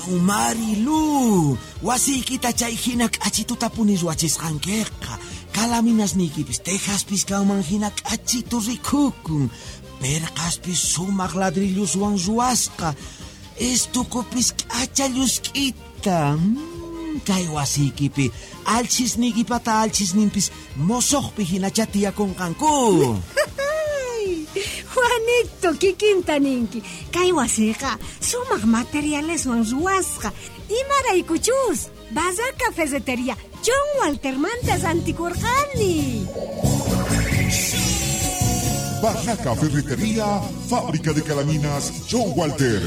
Marilu, wasiykita chay hina k'achitutapuni ruwachisqankiqa. Calaminasniykipis tejaspis kanman hina k'achitu rikukun. Perqaspis sumaq ladrilloswan ruwasqa. Estukupis k'acha llusk'ita. Kay wasiykipi alchhisniykipata alchhisninpis mosoqpi hinachá tiyakunqanku. Juanito, kikinta ninki. Kay wasiqa sumaq materialeswan ruwasqa. Imaraykuchus Barraca Ferretería John Waltermanta rantikurqani. Barraca Ferretería, fábrica de calaminas John Walter.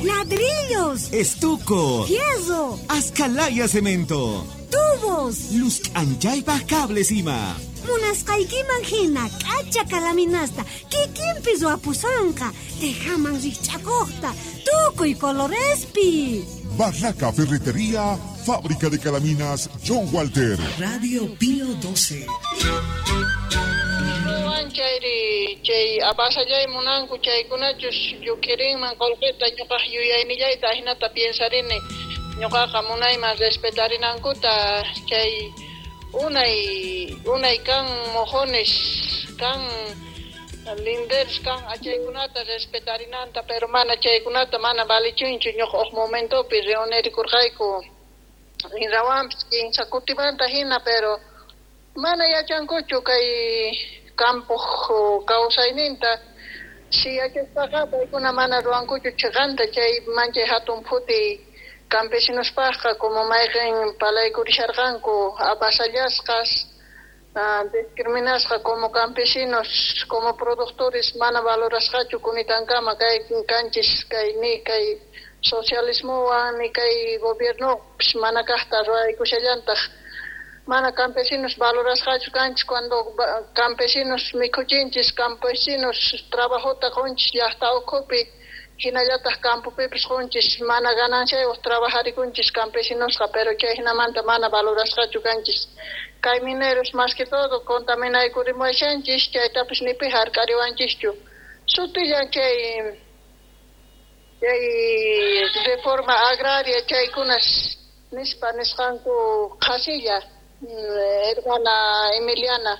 Ladrillos, Estuco, fierro, Ascalaya cemento, tubos, luz k'anchaypaq cables ima. Munasqaykiman hina k'acha calaminasta kikinpi ruwapusonqa tejaman rikch'akuqta tukuy colorespi. Barraca Ferretería, fábrica de calaminas John Walter. Radio Pío 12. Ruwan chayri chay apasallay munanku chaykunachus llukirinman qullqita ñuqaq yuyaynillayta ahinata piensarini ñuqaqa munayman respetarinankuta chay unay unay kan mojones kan linderos kan achaykunata respetarinanta, pero mana chaykunata mana valichunchu. Ñuqa huk momentopi reunirikurqayku inrawanpis kinsa kutimanta hina, pero mana yachankuchu kay campoq kawsayninta. Si yachaspaqa paykuna mana ruwankuchu chiqanta. Chay manchay hatun phutiy campesinospaqqa, como mayqin palaykurisharqanku apasallasqas, discriminasqa como campesinos, como productores, mana valorasqachu kunitankama kay kanchis kay ni kay socialismowan ni kay gobiernopis mana kaqta ruwaykushallantaq. Mana campesinos valorasqachu kanchis cuando campesinos mikhuchinchis, campesinos trabajota qunchis llaqta ukhupi, hinallataq campopipis qunchis. Mana gananciayuq trabajarikunchis campesinosqa, pero chay hinamanta mana valorasqachu kanchis. Kay mineros más que todo contaminaykurimuwashanchis, chaytapis ni pi hark'ariwanchischu. Sutillan chay reforma agraria chaykunas nispa nisqanku qhasilla. Hermana Emiliana,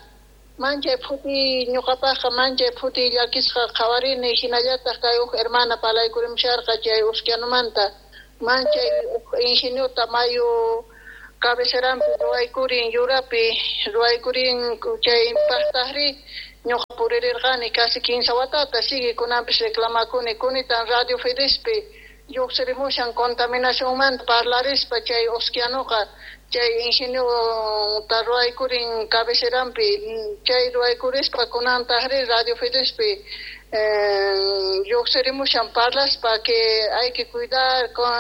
manchay phuti ñuqapaqqa, manchay phuti llakisqa qhawarini. Hinallataq kay huk hermana palaykurimsharqa chay Usquianomanta, manchay huk ingeniota mayu cabecerampi ruwaykurin, yurapi ruwaykurin. Chay paqtaqri ñuqa puririrqani casi 15 watata, sigue kunanpis reclamakuni. Kunitan Radio Fidespi lluqsirimushan contaminacionmanta parlarispa chay Usquianoqa, chay ingeniota ruwaykurin cabecerampi. Chay ruwaykurispa kunantaqri Radio Fidespi lluqsirimushan parlaspa que hay que cuidar con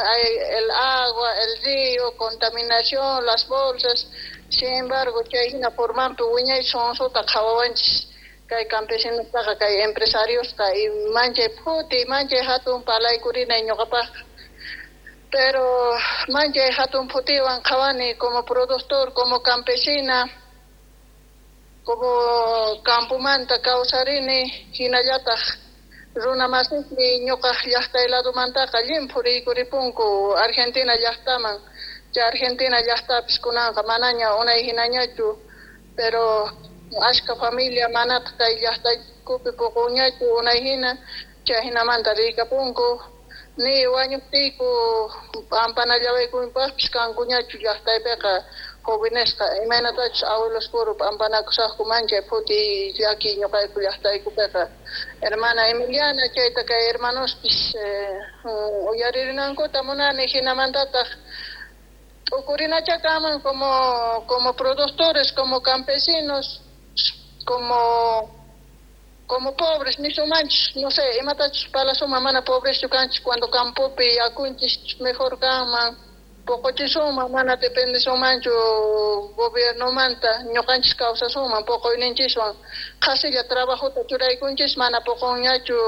el agua, el río, contaminación, las bolsas. Sin embargo, chay hina formanpi wiñay sonsuta qhawawanchis kay campesinostaqa kay empresariosta. Y manchay phuti, manchay hatun palaykurinay ñuqapaqqa, pero manchay hatun phutiwan qhawani como productor, como campesina, como campomanta kawsarini. Hinallataq runa masismi ñuqaq llaqtay ladomantaqa llimphu riykuripunku Argentina llaqtaman. Chay Argentina llaqtapis kunanqa manaña unay hinañachu, pero ashka familia manataq kay llaqtaykupi puqunñachu unay hina, chay hinamanta riykapunku. Ni wañuqtiyku p'ampanallawaykunpaqpis kankuñachu llaqtaypiqa jovenesqa, imaynatachus abuelos puro p'ampanakusaqku. Manchay phuti llaki ñuqayku llaqtaykupiqa. Hermana Emiliana, chayta kay hermanospis uyaririnankuta munani. Hinamantataq t'ukurinacha kanman como productores, como campesinos, como pobres nisumanchis, no sé, imatachus palasuma, mana pobreschu kanchis cuando campopi yakunchis mejor kanman, poqochisunman, mana dependesunmanchu gobiernomanta, ñuqanchis kawsasunman poqoyninchiswan. Qhasilla trabajota churaykunchis, mana poqonñachu,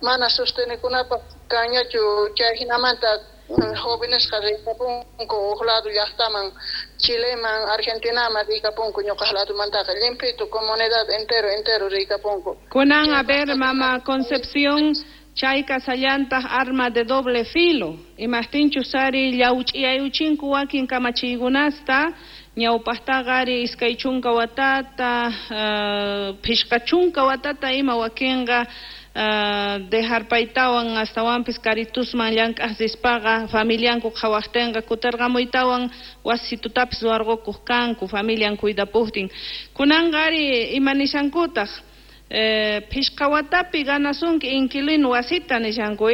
mana sostenikunapaq kanñachu. Chay hinamanta jóvenesqa riykapunku huk lado llaqtaman, Chileman, Argentinaman riykapunku. Ñuqaq ladomantaqa llimpito comunidad entero entero riykapunku. Kunan, a ver, mama Concepción. Chay kasallantaq arma de doble filo. Imaqtinchus ari llawch'iyayuchinku wakin kamachiykunasta ñawpaqtaqa ari 20 watata, 50 watata ima wakinqa dejarpaytawan astawanpis karitusman llank'aq rispaqa familianku qhawaqtinqa kutirqamuytawan wasitutapis ruwarqukuq kanku familian cuidapuqtin. Kunanqa ari ima nishankutaq 5 watapi ganasunki inquilino wasita nishanku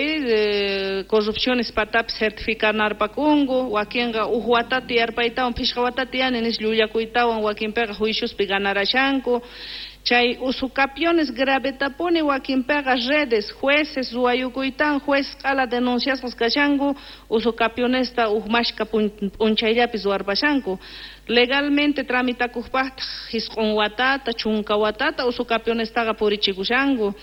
corrupciones patapis certificarnarpakunku wakinqa uj watata yarpaytawan 5 watata yani nis llullakuytawan wakinpiqa juiciospi ganarashanku. Chay usucapiones gravetapuni wakinpiqa redes jueces ruwayukuytan juez q'ala denunciasqas kashanku usucapionesta uj mashka p'unchayllapis ruwarpashanku. Legalmente tramitakuqpaqtaq 9 watata 10 watata usucapionestaqa purichikushanku.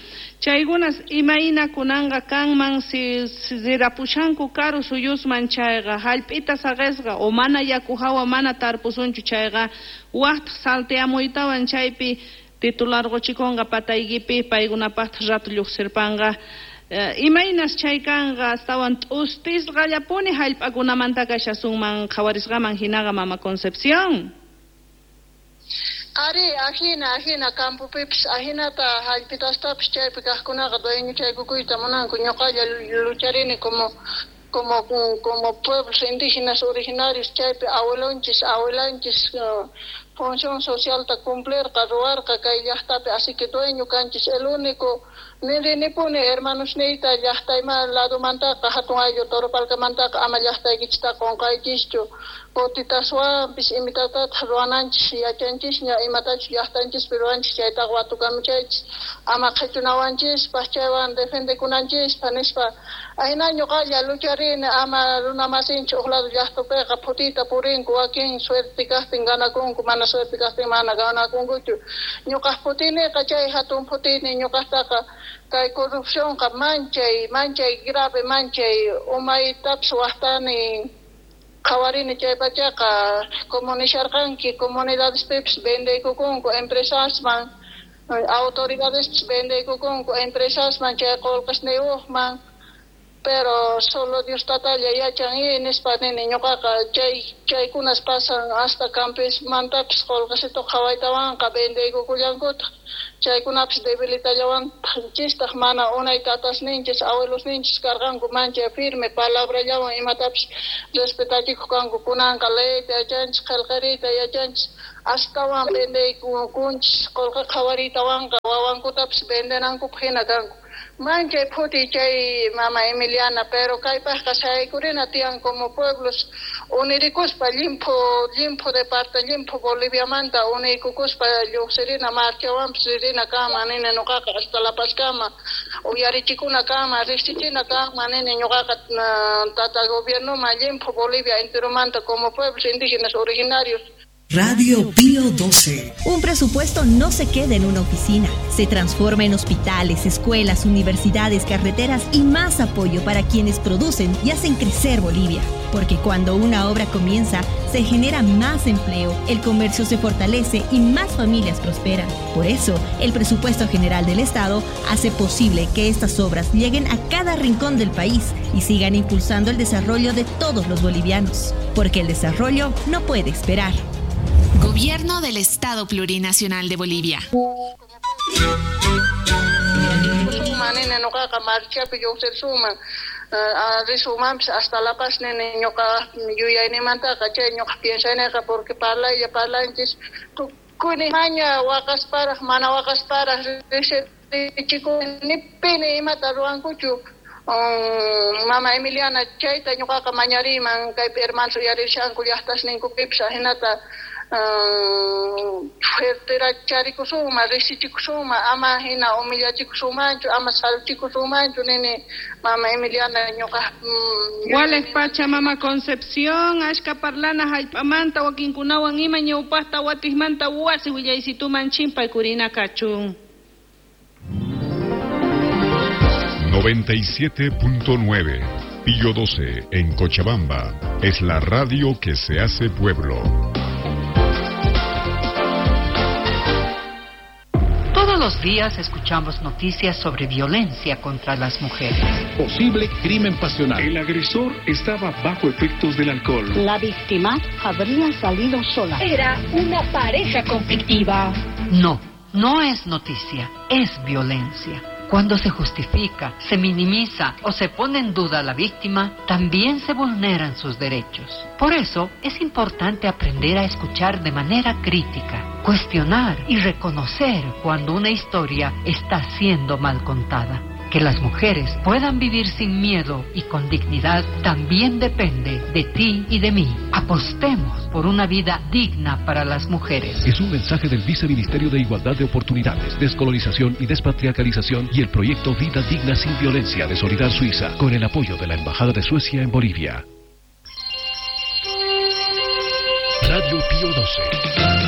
Chaykunas imayna kunanqa kanman si rirapushanku karu suyusman chayqa hallp'ita saqisqa o mana yaku hawa mana tarpusunchu chayqa waqtaq salteamuytawan chaypi titular quchikunqa pataykipi paykunapaqtaq rato lluqsirpanqa. Imaynas chay kanqa astawan t'ustisqallapuni hallp'akunamanta kashasunman qhawarisqaman hinaqa mama Concepción. Ari, ajina campopipis ajinata hallp'itastapis chaypi kaqkunaqa dueñochaykukuyta munanku ñuqalla lucharini como pueblos indígenas originarios chaypi abuelonchis abuelanchis función socialta cumplirqa ruwarqa kay llaqtapi así que dueño kanchis el único nirinipuni hermanos niyta llaqtayma ladomantaqa hatun ayllu Toropalcamantaqa ama llaqtaykichista qunqaykichischu kutitaswanpis imitatataq ruwananchis yachanchisña imatachus llaqtanchispi ruwanchis chaytaqa watukamuchaychis ama qhichunawanchispaq chaywan defendekunanchispaq nispa ahina ñuqalla lucharini ama runamasinchik uq lado llaqtapiqa phutiyta purinku wakin suerte kaqtin ganakunku mana suerte kaqtin mana ganakunkuchu ñuqaq phutiniqa chay hatun phutini ñuqaqtaqa kay corrupcionqa manchay grave manchay umaytapis waqtani qhawarini chay pachaqa como nisharqanki comunidadespipis vendeykukunku empresasman autoridadespis vendeykukunku empresasman chay qullqisniyuqman pero solo Dios tatalla yachan y nispa nini ñuqaqa chaykunas pasan hasta campismantapis qullqisito qhawaytawanqa vendeykukullankutaq chaykunapis debilitallawanchistaq mana unay tatasninchis abuelosninchis karqanku manchay firme palabrallawan imatapis respetachikuq kanku kunanqa leyta yachanchis qillqariyta yachanchis astawan vendeykukunchis qullqi qhawariytawanqa wawankutapis vendenankupaq hina kanku. Manchay phuti chay mama Emiliana, pero kaypaqqa saykurina tiyan como pueblos unirikuspa limpu de parte limpu Boliviamanta uniykukuspa lluqsirina marchawanpis ririna kama nini ñuqaqa hasta La Pazkama uyarichikuna kama riqsichina kama nini ñuqaqa tata gobiernoman limpu Bolivia enteromanta como pueblos indígenas originarios. Radio Pío 12. Un presupuesto no se queda en una oficina. Se transforma en hospitales, escuelas, universidades, carreteras y más apoyo para quienes producen y hacen crecer Bolivia. Porque cuando una obra comienza, se genera más empleo, el comercio se fortalece y más familias prosperan. Por eso, el Presupuesto General del Estado hace posible que estas obras lleguen a cada rincón del país y sigan impulsando el desarrollo de todos los bolivianos. Porque el desarrollo no puede esperar. Gobierno del Estado Plurinacional de Bolivia. Hasta La Paz porque Mama Emiliana chayta ñuqaqa mañariman kaypi hermanos uyarishanku llaqtasninkupipis ajinata fuerteracharikusuma riqsichikusuma ama hina humillachikusumanchu ama saluchikusumanchu nini mama Emiliana ñuqa Waleq pacha mama Concepción ashka parlana hallp'amanta wakinkunawan ima ñawpaqta watiqmanta wasi willaysituman chimpaykurina kachun. 97.9 Pío 12 en Cochabamba es la radio que se hace pueblo. Todos los los días escuchamos noticias sobre violencia contra las mujeres. Posible crimen pasional. El agresor estaba bajo efectos del alcohol. La víctima habría salido sola. Era una pareja conflictiva. No, no es noticia, es violencia. Cuando se justifica, se minimiza o se pone en duda a la víctima, también se vulneran sus derechos. Por eso es importante aprender a escuchar de manera crítica, cuestionar y reconocer cuando una historia está siendo mal contada. Que las mujeres puedan vivir sin miedo y con dignidad también depende de ti y de mí. Apostemos por una vida digna para las mujeres. Es un mensaje del Viceministerio de Igualdad de Oportunidades, Descolonización y Despatriarcalización y el proyecto Vida Digna sin Violencia de Solidar Suiza, con el apoyo de la Embajada de Suecia en Bolivia. Radio Pío 12.